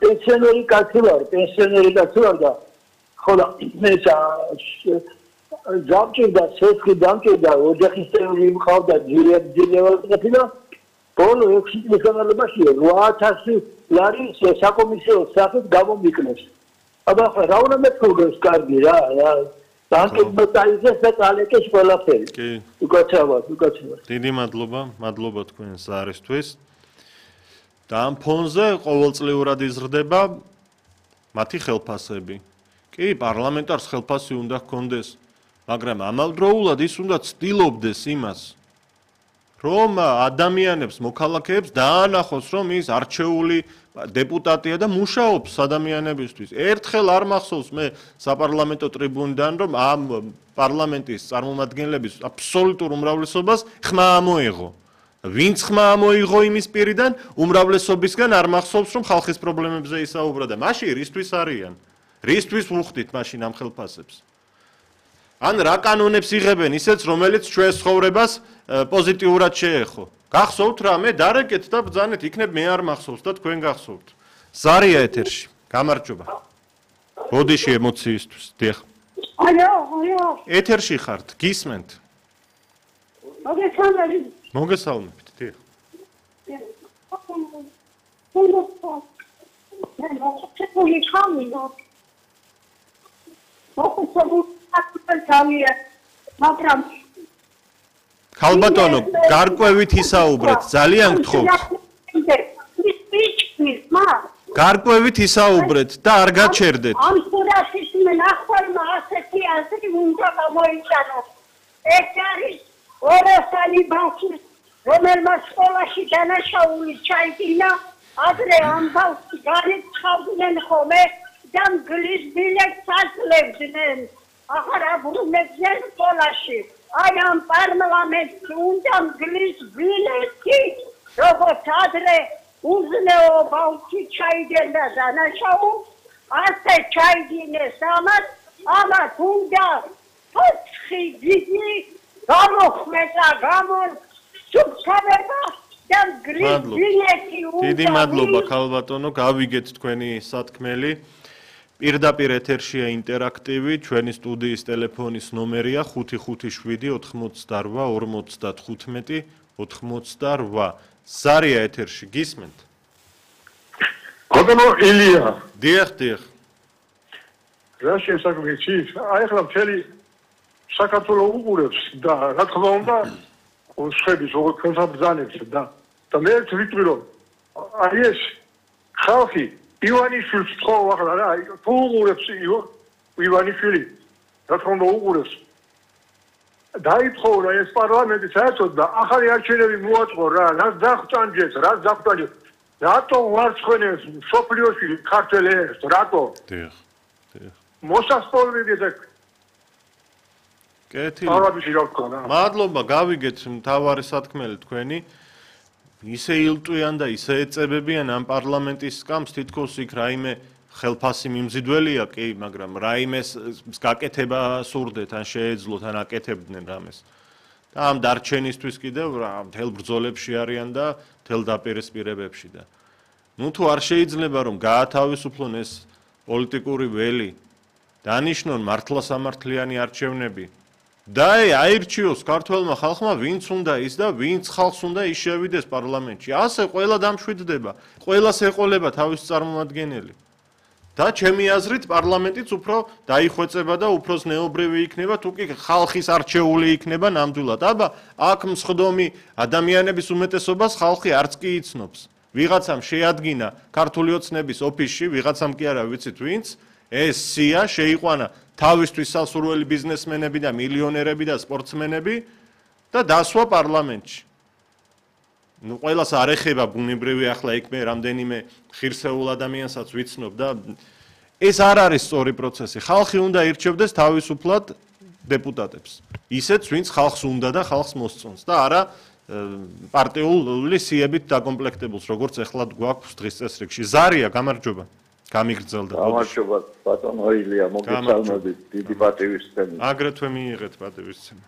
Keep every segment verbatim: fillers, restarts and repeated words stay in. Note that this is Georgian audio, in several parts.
პენსიონერი კაცი ვარ, პენსიონერი კაცი ვარ და ხოლო მე გამჭირდა, სესხი გამჭირდა, ოჯახის წევრი მყავდა, ძირევალები და ბოლო ექვსი წლის განმავლობაში რვა ათასი ლარი საკომისიო სახით გამომიკნეს. აბა ხო რა უნდა მეთქოს კარგი რა, რა. დაკეთებაიზეს და წალეკეს ყველაფერი. კი. უკაცრავად, უკაცრავად. დიდი მადლობა, მადლობა თქვენ ზარისთვის. და ამ ფონზე ყოველწლიურად იზრდება მათი ხელფასები. კი, პარლამენტარს ხელფასი უნდა ჰქონდეს, მაგრამ ამავდროულად ის უნდა ცდილობდეს იმას, რომ ადამიანებს, მოქალაქეებს დაანახოს, რომ ის არჩეული დეპუტატია და მუშაობს ადამიანებისთვის. ერთხელ არ მახსოვს მე საპარლამენტო ტრიბუნიდან, რომ ამ პარლამენტის წარმომადგენლების აბსოლუტურ უმრავლესობას ხმა ამოიღო. ვინც ხმა ამოიღო იმის პირიდან, უმრავლესობისგან არ მახსოვს, რომ ხალხის პრობლემებზე ისაუბრა და მაშინ რისთვის არიან? რისთვის ვუხდით მაშინ ამ ხელფასებს? ან რა კანონებს იღებენ ისეც, რომელიც ჩვენს ცხოვრებას პოზიტიურად შეეხო? გახსოვთ რა, მე დარეკეთ და ბრძანეთ, იქნებ მე არ მახსოვს და თქვენ გახსოვთ. ზარია ეთერში. გამარჯობა. ბოდიში ემოციისთვის. დიახ. ალო, ალო. ეთერში ხართ, გისმენთ. მოგესალმებით. მოგესალმებით, დიახ. მაგრამ ქალბატონო, გარკვევით ისაუბრეთ, ძალიან გთხოვთ. გარკვევით ისაუბრეთ და არ გაჩერდეთ. ამ სურათის ნახვალმა ასეთი აზრი უნდა გამოიჩანოს. ეს არის ორასალი ბავშვი, რომელმაც სკოლაში დანაშაული ჩაიდინა, ადრე ამ ბავშვს განეცხავდნენ ხოლმე და მგლის ბილეთს აძლევდნენ. ახლა აბრუნებდნენ სკოლაში. აი ამ პარლამენტს უნდა მგლის ბილეთი, როგორც ადრე უზნეო ბავშვი ჩაიდინა დანაშაულს, ასე ჩაიდინეს ამას, ამას უნდა ოთხი დიდი გამოხმეტა, გამოსუფთავება და მგლის ბილეთი უნდა. დიდი მადლობა ქალბატონო, გავიგეთ თქვენი სათქმელი. პირდაპირ ეთერშია ინტერაქტივი, ჩვენი სტუდიის ტელეფონის ნომერია ხუთი ხუთი შვიდი ოთხმოცდარვა ორმოცდათხუთმეტი ოთხმოცდარვა. ზარია ეთერში, გისმენთ? გოგონო ილია. დიახ, დიახ. რა შესაძლებელი? აი ახლა მთელი საქართველოს უყურებს და რა თქმა უნდა, ხების როგორ კონსაბძანებს და და მე ვიტყვი რომ აი ეს ხალხი ივანიშვილს თხოვ ახლა რა, თუ უყურებს ივანიშვილი, რა თქმა უნდა უყურებს. დაითხოვა ეს პარლამენტი საერთოდ და ახალი არჩევნები მოაწყო რა, რაც დაღწანჯეს, რაც დაღწანჯეს. რატო ვარცხენებს სოფლიოში ქართველებს, რატო? დიახ, დიახ. მოსასწორებელი და კეთილი. არაბიში რა ვქნა. მადლობა, გავიგეთ მთავარი სათქმელი თქვენი. ისე ილტვიან და ისე ეწებებიან ამ პარლამენტის სკამს, თითქოს იქ რაიმე ხელფასი მიმზიდველია, კი, მაგრამ რაიმეს გაკეთება სურდეთ, ან შეეძლოთ, ან აკეთებდნენ რამეს. და ამ დარჩენისთვის კიდევ რა, მთელ ბრძოლებში არიან და მთელ დაპირისპირებებში და. ნუ თუ არ შეიძლება რომ გაათავისუფლონ ეს პოლიტიკური ველი, დანიშნონ მართლასამართლიანი არჩევნები. და აირჩიოს ქართველმა ხალხმა ვინც უნდა ის და ვინც ხალხს უნდა ის შევიდეს პარლამენტში. ასე ყველა დამშვიდდება, ყველას ეყოლება თავის წარმომადგენელი. და ჩემი აზრით პარლამენტიც უფრო დაიხვეწება და უფრო ზნეობრივი იქნება, თუ კი ხალხის არჩეული იქნება ნამდვილად. აბა, აქ მსხდომი ადამიანების უმეტესობას ხალხი არც კი იცნობს. ვიღაცამ შეადგინა ქართული ოცნების ოფისში, ვიღაცამ კი არა ვიცით ვინც, ეს სია შეიყვანა თავისთვის სასურველი ბიზნესმენები და მილიონერები და სპორტსმენები და დასვა პარლამენტში. ნუ ყველას არ ეხება ბუნებრივი ახლა იქ მე რამდენიმე ხირსეულ ადამიანსაც ვიცნობ და ეს არ არის სწორი პროცესი. ხალხი უნდა ირჩევდეს თავისუფლად დეპუტატებს. ისეც ვინც ხალხს უნდა და ხალხს მოსწონს და არა პარტიული სიებით დაკომპლექტებულს, როგორც ეხლა გვაქვს დღის წესრიგში. ზარია, გამარჯობა. გამიგრძელდა. გამარჯობა, ბატონო ილია, მოგესალმებით, დიდი პატივისცემა. აგრეთვე მიიღეთ პატივისცემა.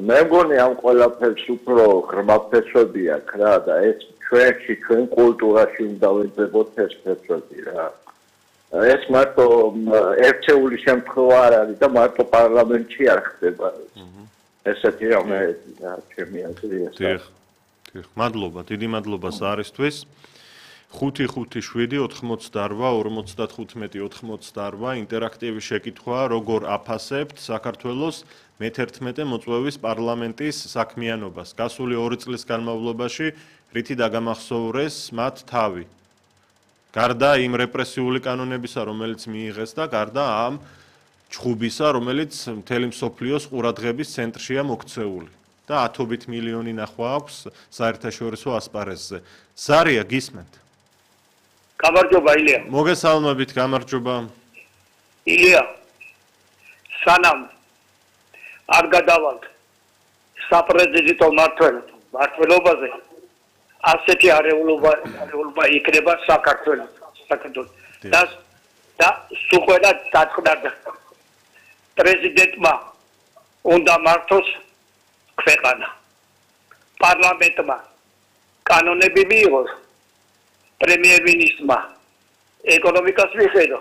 მე მგონი ამ ყველაფერს უფრო ღრმაფესვები აქვს რა და ეს ჩვენში ჩვენ კულტურაში უნდა ვეძებოთ ეს პროცესი რა. ეს მარტო ერთეული შემთხვევა არ არის და მარტო პარლამენტში არ ხდება. ესეთი რამე ჩემი აზრია. დიახ. დიახ. მადლობა, დიდი მადლობა საარისთვის. ხუთი ხუთი შვიდი ოთხმოცდაორვა ორმოცდათხუთმეტი ოთხმოცდაორვა ინტერაქტივი შეკითხვა როგორ აფასებთ საქართველოს მეთერთმეტე მოწვევის პარლამენტის საქმიანობას გასული ორი წლის განმავლობაში რითი დაგამახსოვრეს მათ თავი გარდა იმ რეპრესიული კანონებისა რომელიც მიიღეს და გარდა ამ ჩხუბისა რომელიც მთელი მსოფლიოს ყურადღების ცენტრშია მოქცეული და ათობით მილიონი ნახვა აქვს საერთაშორისო ასპარეზზე ზარია გისმენთ გამარჯობა ილია. მოგესალმებით, გამარჯობა. ილია. სანამ არ გადავალთ საპრეზიდენტო მმართველობაზე, ასეთი არეულობა არეულობა იქნება საქართველოს. საქართველოს. და და სუყელა დათყდა. პრეზიდენტმა უნდა მართოს ქვეყანა. პარლამენტმა კანონები მიიღოს. პრემიერ-მინისტრმა ეკონომიკას მიხედო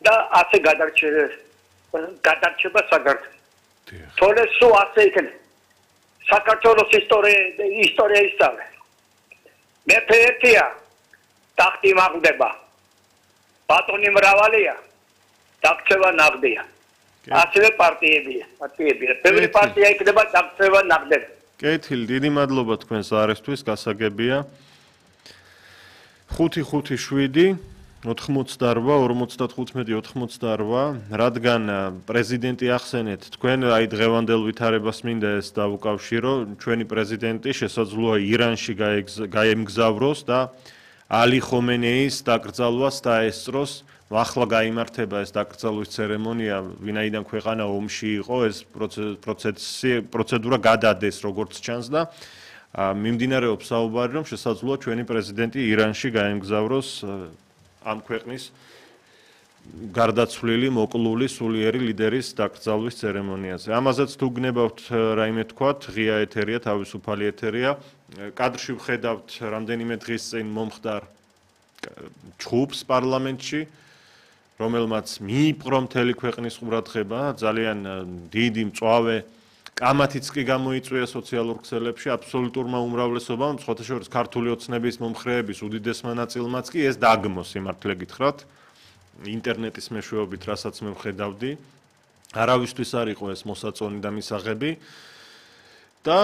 და ასე გადარჩება გადარჩება საქართველო. თორე სულ ასე იქნება. საქართველოს ისტორია ისტორია ისწავლე. მეფე ერთია ტახტი მაგდება. ბატონი მრავალია დაქცევა ნაღდია. ასევე პარტიებია, პარტიებია. ბევრი პარტია იქნება დაქცევა ნაღდება. კეთილი, დიდი მადლობა თქვენს არესთვის, გასაგებია. ხუთი ხუთი შვიდი ოთხმოცდაორვა ორმოცდათხუთმეტი ოთხმოცდაორვა რადგან პრეზიდენტი ახსენეთ თქვენ აი დღევანდელ ვითარებას მინდა ეს დავუკავშირო ჩვენი პრეზიდენტი შესაძლოა ირანში გაემგზავროს და ალი ხომენეის დაკრძალვას დაესწროს ახლა გაიმართება ეს დაკრძალვის ცერემონია ვინაიდან ქვეყანა ომში იყო ეს პროცესი პროცედურა გადადეს როგორც ჩანს და მიმდინარეობს საუბარი რომ შესაძლოა ჩვენი პრეზიდენტი ირანში გაემგზავროს ამ ქვეყნის გარდაცვლილი მოკლული სულიერი ლიდერის დაკრძალვის ცერემონიაზე. ამაზეც თუ გნებავთ რაიმე თქვათ, ღია ეთერია, თავისუფალი ეთერია. კადრში ვხედავთ რამდენიმე დღის წინ მომხდარ ჩხუბს პარლამენტში, რომელმაც მიიპყრო მთელი ქვეყნის ყურადღება, ძალიან დიდი მწვავე კამათიც კი გამოიწვია სოციალურ ქსელებში აბსოლუტურმა უმრავლესობამ, სხვათა შორის ქართული ოცნების მომხრეების უდიდესმა ნაწილმაც კი ეს დაგმო სიმართლე გითხრათ, ინტერნეტის მეშვეობით, რასაც მე ვხედავდი, არავისთვის არ იყო ეს მოსაწონი და მისაღები და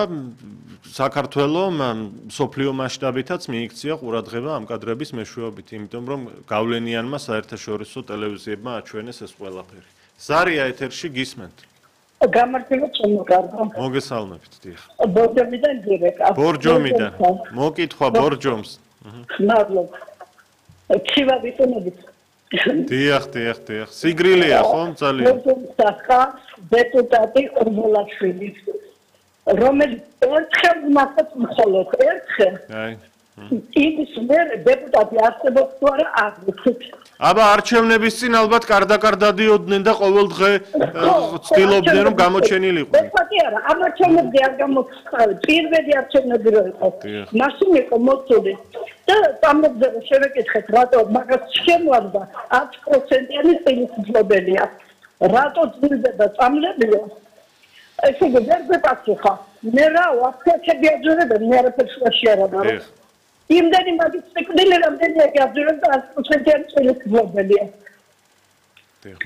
საქართველოს სოფლიო მასშტაბითაც მიიქცია ყურადღება ამ კადრების მეშვეობით, იმიტომ რომ გავლენიანმა საერთაშორისო ტელევიზიებმა აჩვენეს ეს ყველაფერი. ზარია ეთერში გისმენთ. გამარჯობა ჩემო კარგო. მოგესალმებით, დიახ. ბორჯომიდან გირეკა. ბორჯომიდან. მოკითხვა ბორჯომს. მადლობა. ჩივა ვიტუნებით. დიახ, დიახ, დიახ. სიგრილია ხომ ძალიან? ბორჯომსახა დეპუტატი ორბოლაშვილი. რომელიც ერთხელ მართაც მხოლოდ ერთხელ. აი. ის მე დეპუტატი არსებობს თუ არა არ ვიცი. აბა არჩევნების წინ ალბათ კარდაკარ დადიოდნენ და ყოველ დღე ცდილობდნენ რომ გამოჩენილიყვნენ. დეპუტატი არა, ამ არჩევნებზე არ გამოცხადდა. პირველი არჩევნები რო იყო. მაშინ იყო მოწული. და ამბობდნენ რომ შევეკითხეთ რატო მაგას შემოარდა ათი პროცენტიანი წინასწრებელია. რატო ძირდება წამლებიო? ესე იგი ვერ გეპასუხა. მე რა ვაფეთები აძურებენ მე არაფერს შეარაბა. იმდენი მაგის ციკლი რამდენი აღძურებს და ათი პროცენტიანი წინასწრებელია.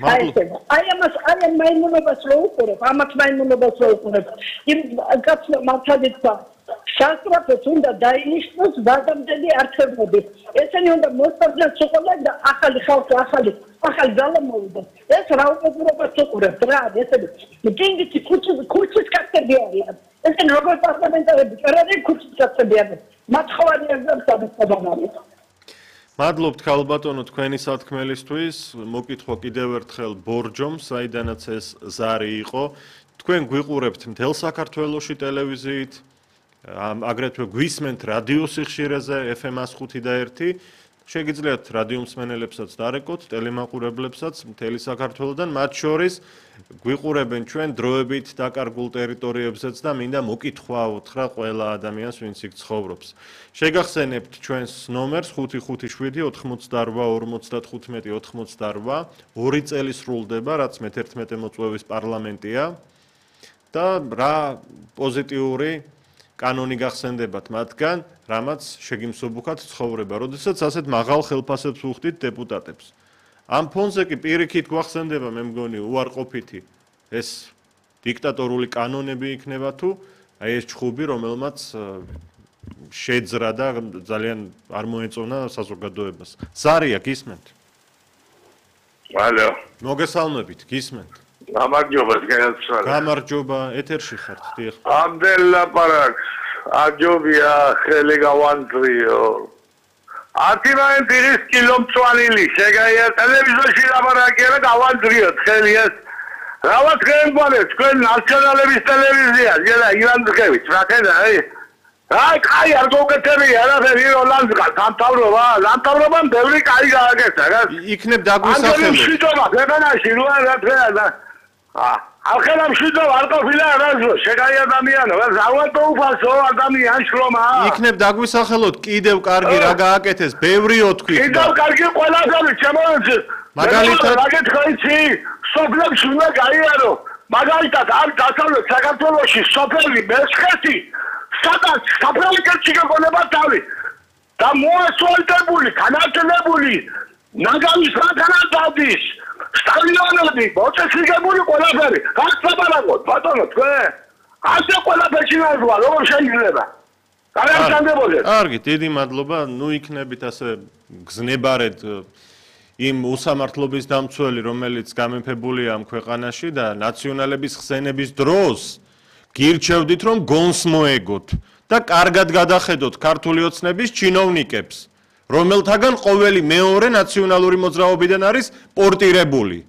მადლობა. აი ამას აი ამ მაიმუნობას რო უყურებ, ამათ მაიმუნობას რო უყურებ. იმ კაცმა მართადიცა სასწრაფოს უნდა დაინიშნოს ვადამდელი არჩევნები. ესენი უნდა მოსწავლეს უყურებენ და ახალი ხალხი, ახალი ახალი ძალა მოვიდეს. ეს რა უყურებას უყურებთ რა, ესენი დინგიცი ქუჩის ქუჩის კაცები არიან. ესენი როგორ პარლამენტარები წერენ ქუჩის კაცები არიან. მათხოვანი ეგზამენს მადლობთ ქალბატონო თქვენი სათქმელისთვის. მოკითხვა კიდევ ერთხელ ბორჯომს, საიდანაც ეს ზარი იყო. თქვენ გვიყურებთ მთელ საქართველოში ტელევიზიით, აგრეთვე გვისმენთ რადიო სიხშირეზე ეფ ემ ათს ხუთი და ერთი. შეგიძლიათ რადიო მსმენელებსაც დარეკოთ, ტელემაყურებლებსაც მთელი საქართველოდან, მათ შორის გვიყურებენ ჩვენ დროებით დაკარგულ ტერიტორიებზეც და მინდა მოკითხვა უთხრა ყველა ადამიანს, ვინც იქ ცხოვრობს. შეგახსენებთ ჩვენს ნომერს ხუთი ხუთი შვიდი ოთხმოცდარვა ორმოცდათხუთმეტი ოთხმოცდარვა, ორი წელი სრულდება, რაც მეთერთმეტე მოწვევის პარლამენტია და რა პოზიტიური კანონი გახსენდებათ მათგან, რამაც შეგიმსუბუქათ ცხოვრება, როდესაც ასეთ მაღალ ხელფასებს უხდით დეპუტატებს. ამ ფონზე კი პირიქით გვახსენდება, მე მგონი, უარყოფითი ეს დიქტატორული კანონები იქნება თუ აი ეს ჩხუბი, რომელმაც შეძრა და ძალიან არ მოეწონა საზოგადოებას. ზარია, გისმენთ? ალო. მოგესალმებით, გისმენთ? გამარჯობა, განსხვავებით. გამარჯობა, ეთერში ხართ, დიახ. ამდენ ლაპარაკს, აჯობია, ხელი გავანძრიო. არტიმენტი ის კილომწვანილი, შეგაია ტელევიზორში ლაპარაკია და გავანძრიოთ ხელი ეს. რაღაც გემბანე, თქვენ ნაციონალების ტელევიზია, ზედა ივანძღევით, რა აი. აი, კაი არ გოგეთები, არაფერი როლანდსკა, სამთავრობა, სამთავრობამ ბევრი კაი გააკეთა, რა. იქნებ დაგვისახელოთ. ამ შიტოვა, ქვეყანაში რა რა და ახლა მშვიდობა არ ყოფილა რაზო შეგაი ადამიანო ზავატო უფასო ადამიან შრომა იქნებ დაგვისახელოთ კიდევ კარგი რა გააკეთეს ბევრიო თქვი კიდევ კარგი ყველასავე ჩემოც მაგალითად მაგეთქოიცი სოფლებში უნდა გაიარო მაგალითად ამ დასავლეთ საქართველოში სოფელი მესხეთი სადაც საფრანგეთში გეყონება თავი და მოასფალტებული განაწილებული ნაგავის რატანადადის სტადიონები, მოწესრიგებული ყველაფერი, გასაბარაგოთ, ბატონო, თქვენ. ასე ყველაფერში ნაზვა, როგორ შეიძლება? გარანტირებოდეს. კარგი, დიდი მადლობა. ნუ იქნებით ასე გზნებარეთ იმ უსამართლობის დამცველი, რომელიც გამეფებულია ამ ქვეყანაში და ნაციონალების ხსენების დროს გირჩევდით, რომ გონს მოეგოთ და კარგად გადახედოთ ქართული ოცნების ჩინოვნიკებს. რომელთაგან ყოველი მეორე ნაციონალური მოძრაობიდან არის პორტირებული.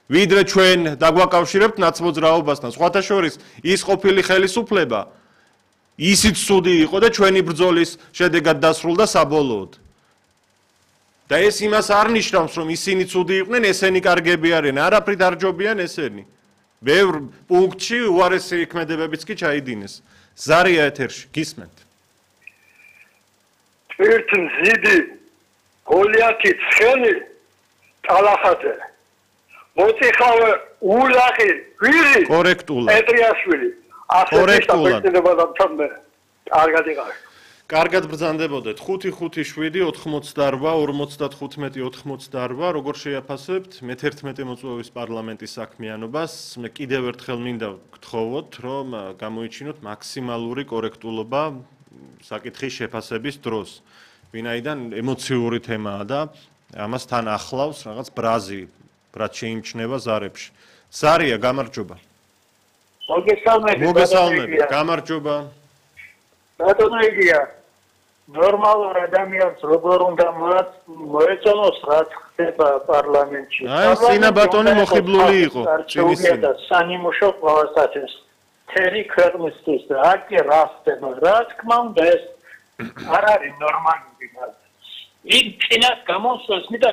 ვიდრე ჩვენ დაგვაკავშირებთ ნაცმოძრაობასთან. სხვათა შორის ის ყოფილი ხელისუფლება ისიც ცუდი იყო და ჩვენი ბრძოლის შედეგად დასრულდა საბოლოოდ. და ეს იმას არ ნიშნავს, რომ ისინი ცუდი იყვნენ, ესენი კარგები არიან, არაფრით არ ჯობიან ესენი. ბევრ პუნქტში უარესი ქმედებებიც კი ჩაიდინეს. ზარია ეთერში, გისმენთ? ერთ მზიდი გოლიათი ცხელი ტალახაძე მოწიხავე ულაღი ვირი კორექტულად პეტრიაშვილი კორექტულად კარგად იყავი კარგად ბრძანდებოდეთ ხუთი ხუთი შვიდი ოთხმოცდარვა ორმოცდათხუთმეტი ოთხმოცდარვა როგორ შეაფასებთ მეთერთმეტე მოწვევის პარლამენტის საქმიანობას მე კიდევ ერთხელ მინდა გთხოვოთ რომ გამოიჩინოთ მაქსიმალური კორექტულობა საკითხის შეფასების დროს. ვინაიდან ემოციური თემაა და ამას თან ახლავს რაღაც ბრაზი, რაც შეიმჩნევა ზარებში. ზარია, გამარჯობა. მოგესალმებით. მოგესალმებით, გამარჯობა. ბატონო იგია, ნორმალურ ადამიანს როგორ უნდა მოეწონოს რაც ხდება პარლამენტში. აი, სინა ბატონი მოხიბლული იყო, ჭინის სინა. სანიმუშო ყოველსათვის. თერი ქვეყნისთვის რა კი რა ხდება რა თქმა უნდა ეს არ არის ნორმალური მაგრამ იმ წინას გამოსვლას მინდა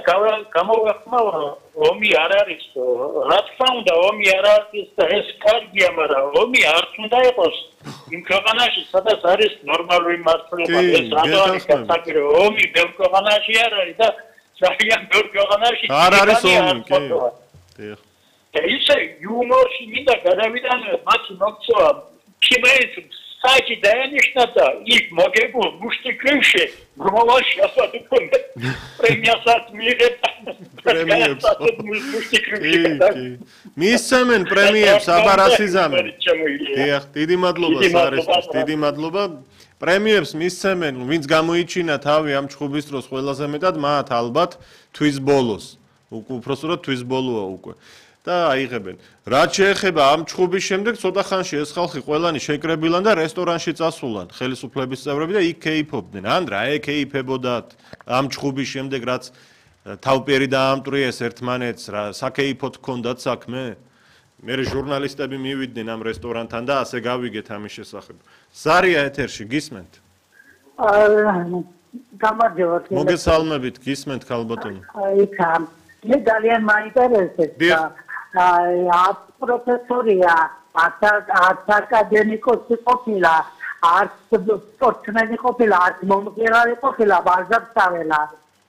გამოვახმაო ომი არ არის რა თქმა უნდა ომი არ არის და ეს კარგია მაგრამ ომი არ უნდა იყოს იმ ქვეყანაში სადაც არის ნორმალური მართლობა ეს რატომაც საკირო ომი ბევრ ქვეყანაში არ არის და ძალიან ბევრ ქვეყანაში არ არის ომი კი დიახ ისე იუმორში მინდა გადავიდანო მათი მოგწოვა ქიმეის საჭი დაენიშნა და იქ მოგებულ მუშტი კრიმში გროვაში ასად უკვე პრემიასაც მიიღებდა პრემიებს მისცემენ პრემიებს აბარასიზამენ დიახ დიდი მადლობა სარესტის დიდი მადლობა პრემიებს მისცემენ ვინც გამოიჩინა თავი ამ ჩხუბის დროს ყველაზე მეტად მათ ალბათ თვის ბოლოს უпроსტოდ თვის ბოლოა უკვე და აიღებენ. რაც შეეხება ამ ჩხუბის შემდეგ, ცოტა ხანში ეს ხალხი ყველანი შეკრებილან და რესტორანში წასულან, ხელისუფლების წევრები და იქ კეიფობდნენ. ან რა ეკეიფებოდათ ამ ჩხუბის შემდეგ, რაც თავპიერი დაამტვრიეს ერთმანეთს, რა საკეიფოდ ჰქონდათ საქმე? მე ჟურნალისტები მივიდნენ ამ რესტორანთან და ასე გავიგეთ ამის შესახებ. ზარია ეთერში, გისმენთ? გამარჯობა. მოგესალმებით, გისმენთ ქალბატონო. აი ხამ. მე ძალიან მაინტერესებს. აი პროფესორია, არც აკადემიკოსი ყოფილა, არც სპორტსმენი ყოფილა, არც მომღერალი ყოფილა, ვაზავსაველა.